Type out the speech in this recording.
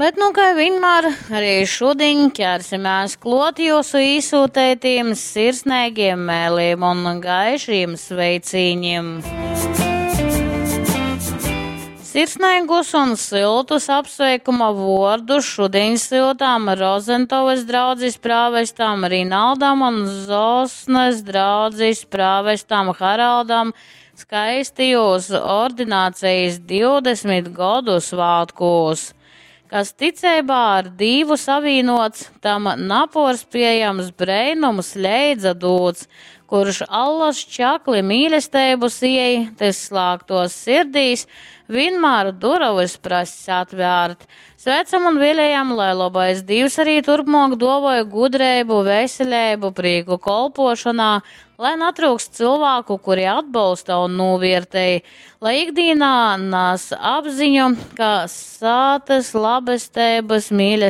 Bet, nu, kai vienmēr, arī šodien ķersimies klot jūsu īsūtētiem, sirsnīgiem mēliem un gaišiem sveicīņiem. Sirsnīgus un siltus apsveikuma vārdus šodien siltām Rozentovas draudzes prāvestam Rinaldam un Zosnes draudzes prāvestam Haraldam skaistījos ordinācijas 20 godu svētkos. Kas ticībā ar Dīvu savīnots, tam naporspējams breinums leidza dūts, kurš allas čakli mīlestību siej, tas slāgtos sirdīs, vienmēr duravas prass atvērt. Sveicam un vēlējam, lai labais Dievs arī turpmāk dovoja gudrību, veselību, prieku kolpošanā, lai natrūkst cilvēku, kuri atbalsta un novērtēja, lai ikdienā nes apziņu, ka sātas labestības, mīlestības.